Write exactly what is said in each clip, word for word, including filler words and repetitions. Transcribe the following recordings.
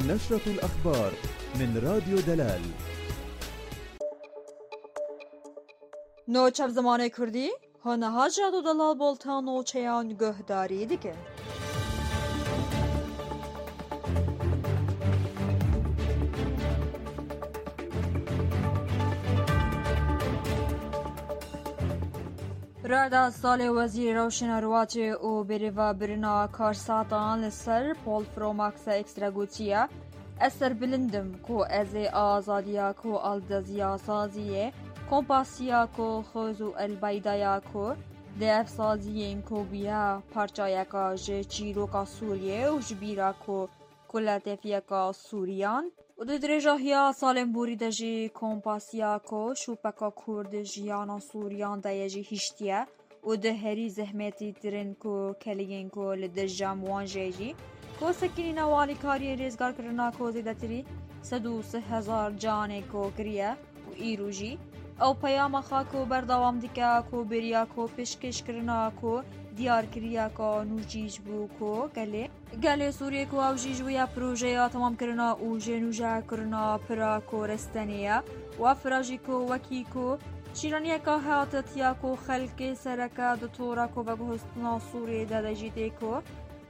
نشرة الأخبار من راديو دلال. Nû çev zimanê Kurdî, hûn niha ji Rado Delal bolta nûçeyan guhdarî dikin. Rada salê Wezîrê Rewşena Rewatê û berêvebirina karsatan li ser Pol Pro Max Extra gotiye, Ez serbilind im ku ez ê azadiya ku aldeziya saziyê, kompasiya ku xwez û elbeydaya ku di ev saziyên ku bûye parçayeka ji çîroka Sûriyê û ji bîra ku kuletefiyeka Sûriyan û di dirêjahiya salên borî de jî kompasiya ku şûpeka Kurd jiyana Sûriyan de ye jî hiştiye û di herî zehmetî tirin ku keliyên ku li dijam wan jê jî ku sekinîna û alîkariyên rêzgarkirina ku zêdetirî sed û sî hezar canê ku kiriye û îro jî ew peyama xwe ku berdewam dike ku bêriya ku pêşkêşkirina ku diyar kiriye ku nû jî ji bo ku gelê Gelê Sûriyê ku ew jî ji wê ya projeya temamkirina û jênûjekirina pira ku restenê ye û ev pira jî ku wekî ku şîraniyeka heyatîtiya ku xelkê sereke di tora ku veguhestina Sûriyê de de jî tê ku,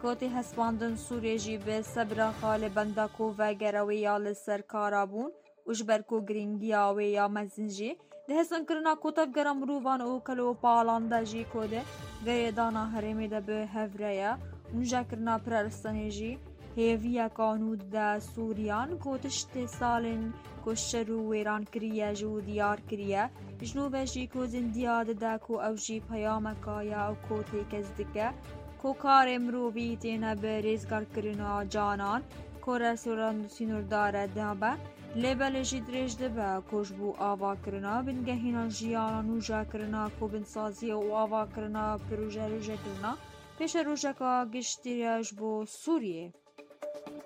ku tê hespandin Sûriyê jî bi sebra xwe li benda ku vegere wê ya li ser kara bûn û ji ber ku girîngiya wê ya mezin jî di hêsankirina ku tevgera mirovan û kelopalan de jî ku di girêdana herêmê de bi hev re ye û nûjekirina pira restenê jî hêviyeka nû dide Sûriyan ku tiştê salên ku şer û wêran kiriye ji û diyar kiriye. Ji nû ve jî ku zindiya dide ku ew jî peyameka ye û ku têkez dike ku karê mirovî têne bi rêzgarkirina canan ku restoran sînordar e dibe. Lê belê jî dirêj dibe ku ji bo avakirina bingehîna jiyana nûjakirina ku binsaziyê û avakirina proje rojekirina pêşerojeka giştî ye ji bo Sûriyê.